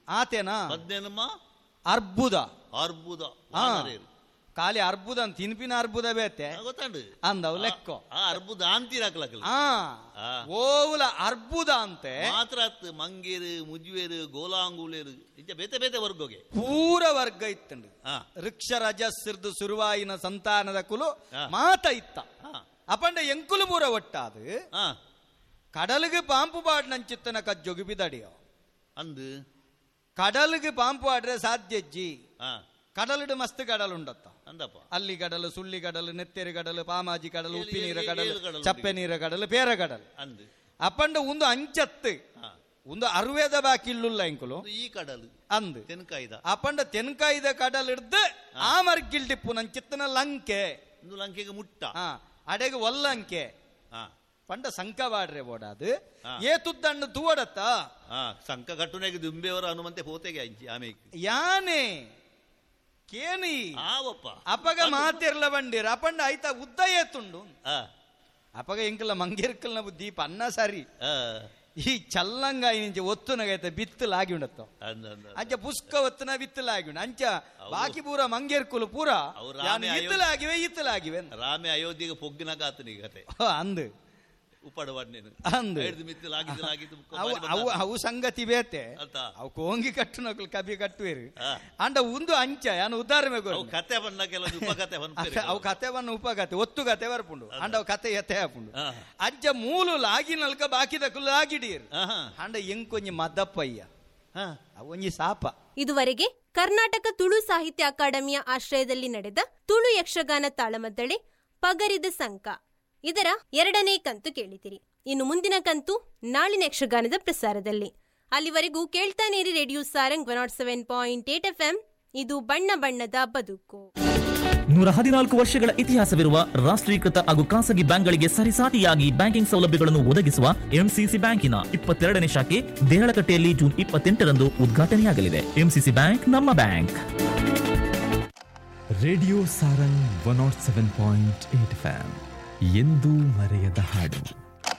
ಆತೇನಾ ಪದ್ನೆನ್ಮ ಅರ್ಬುದ ಅರ್ಬುದ ಖಾಲಿ ಅರ್ಬುದ ತಿನ್ಪಿನ ಅರ್ಬುದ ಬೇತೆ ಗೊತ್ತಾಂಡು ಅಂದವು ಲೆಕ್ಕೋ ಅರ್ಬುದ ಅಂತೀರಾಕ್ಲಕ್ಕಲ್ಲ ಓವುಲ ಅರ್ಬುದ ಅಂತೆ ಮಾತ್ರ ಮಂಗೇರು ಮುಜ್ವೇರು ಗೋಲಾಂಗುಲೇರು ಇಂಚ ಬೇತೆ ಬೇತೆ ವರ್ಗೋಗೆ ಪೂರ ವರ್ಗ ಇತ್ತಂಡು. ವೃಕ್ಷ ರಜಸ್ಸಿರ್ದು ಸುರುವಾಯಿನ ಸಂತಾನದ ಕುಲು ಮಾತ ಇತ್ತ ಅಪಂಡ ಎಂಕುಲು ಪೂರ ಒಟ್ಟಾದು ಕಡಲಿಗೆ ಪಾಂಪು ಬಾಡ್ ನಂಚಿತ್ತನ ಕಜ್ಜೊಗಿ ಬಿದಡಿಯೋ ಅಂದು ಕಡಲಿಗೆ ಪಾಂಪು ಆಡ್ರೆ ಸಾಧ್ಯಜ್ಜಿ. ಕಡಲಿಡು ಮಸ್ತ್ ಕಡಲು ಉಂಡತ್ತ ಅಂದಪ್ಪ ಅಲ್ಲಿ ಕಡಲು ಸುಳ್ಳಿ ಕಡಲು ನೆತ್ತೆರಿ ಕಡಲು ಪಾಮಾಜಿ ಕಡಲು ಉಪ್ಪಿ ನೀರ ಕಡಲು ಚಪ್ಪೆ ನೀರ ಕಡಲು ಪೇರ ಕಡಲು ಅಂದು ಅಪ್ಪಂಡ ಒಂದು ಅಂಚತ್ತು ಒಂದು ಅರುವೇದ ಬಾಕಿ ಇಲ್ಲುಲ್ಲ ಇಂಕುಲು ಈ ಕಡಲು ಅಂದು ತೆನ್ಕಾಯ್ದ ಅಪ್ಪಂಡ ತೆನ್ಕಾಯ್ದ ಕಡಲ್ ಹಿಡ್ದು ಆ ಮರ್ಗಿಲ್ಡಿಪ್ಪು ನಂಚಿತ್ತನ ಲಂಕೆ ಲಂಕೆಗೆ ಮುಟ್ಟ ಅಡೆಗೆ ಒಲ್ಲಂಕೆ ಪಂಡ ಸಂಕವಾಡ್ರೆ ಬೋಡಾದು ಏ ತುದ್ದಣ್ಣು ತೂವಡತ್ತ ಸಂಕ ಕಟ್ಟುನೆಗೆ ದುಂಬೆಯವರ ಹನುಮಂತೆ ಹೋತೆಗೆ ಅಂಚಿ ಆಮೇಲೆ ಯಾನೆ ಕೇನಿ ಅಪಗ ಮಾತಿರ್ಲ ಬಂಡಿರ ಅಪಂಡ ಆಯ್ತಾ ಉದ್ದ ಏತುಂಡು ಅಪಗ ಎಂಕಲ ಮಂಗೇರ್ಕಲ್ನ ಬುದ್ಧಿ ಪನ್ನ ಸರಿ ಈ ಚಲ್ಲಂಗ ಇಂಚ ಒತ್ತುನಗೈತೆ ಬಿತ್ತಲಾಗಿ ಉಂಡತ್ತ ಅಂಚ ಪುಸ್ಕ ಒತ್ತುನ ಬಿತ್ತಲಾಗಿ ಉಂಡು ಅಂಚ ಬಾಕಿ ಪೂರ ಮಂಗೇರ್ಕುಲು ಪೂರ ಇತ್ತಲಾಗಿವೆ ಇತ್ತಲಾಗಿವೆ. ರಾಮೆ ಅಯೋಧ್ಯೆಗೆ ಪೊಗ್ಗಿನಾಗ ಆತನಿಗೆ ಕತೆ ಅಂದು ಅವು ಸಂಗತಿ ಬೇತೆ ಅವು ಕೋಂಗಿ ಕಟ್ಟುನಕುಲು ಕಬಿ ಕಟ್ಟುವೇರು ಅಂಡ ಒಂದು ಅಂಚ ಯಾನು ಉದಾಹರಣೆ ಕತೆ ಅವು ಕತೆ ಬನ್ನ ಉಪಕತೆ ಒತ್ತು ಕತೆ ಬರ್ಪುಂಡು ಅಂಡ ಅವು ಕತೆ ಎತ್ತೆ ಹಾಪುಂಡು ಅಂಚ ಮೂಲು ಲಾಗಿನಲ್ಕ ಬಾಕಿದಕುಲು ಲಾಗಿಡೀರು ಅಂಡ ಎಂಕೊಂಜಿ ಮದಪ್ಪಯ್ಯ ಅವು ಒಂಜಿ ಸಾಪ. ಇದುವರೆಗೆ ಕರ್ನಾಟಕ ತುಳು ಸಾಹಿತ್ಯ ಅಕಾಡೆಮಿಯ ಆಶ್ರಯದಲ್ಲಿ ನಡೆದ ತುಳು ಯಕ್ಷಗಾನ ತಾಳಮದ್ದಳೆ ಪಗರಿದ ಸಂಕ ಇದರ ಎರಡನೇ ಕಂತು ಕೇಳಿದಿರಿ. ಇನ್ನು ಮುಂದಿನ ಕಂತು ನಾಳಿನ ಯಕ್ಷಗಾನದ ಪ್ರಸಾರದಲ್ಲಿ. ಅಲ್ಲಿವರೆಗೂ ಕೇಳ್ತಾನೇರಿ ರೇಡಿಯೋ ಸಾರಂಗ್ 107.8 FM. ಇದು ಬಣ್ಣ ಬಣ್ಣದ ಬದುಕು. 114 ವರ್ಷಗಳ ಇತಿಹಾಸವಿರುವ ರಾಷ್ಟ್ರೀಕೃತ ಹಾಗೂ ಖಾಸಗಿ ಬ್ಯಾಂಕ್ಗಳಿಗೆ ಸರಿಸಾಟಿಯಾಗಿ ಬ್ಯಾಂಕಿಂಗ್ ಸೌಲಭ್ಯಗಳನ್ನು ಒದಗಿಸುವ ಎಂಸಿಸಿ ಬ್ಯಾಂಕಿನ 22ನೇ ಶಾಖೆ ದೇಹಳಕಟ್ಟೆಯಲ್ಲಿ ಜೂನ್ 28ರಂದು ಉದ್ಘಾಟನೆಯಾಗಲಿದೆ. ಎಂಸಿಸಿ ಬ್ಯಾಂಕ್ ನಮ್ಮ ಬ್ಯಾಂಕ್. ರೇಡಿಯೋ ಸಾರಂಗ್ 107.8 FM ಎಂದೂ ಮರೆಯದ ಹಾಡು.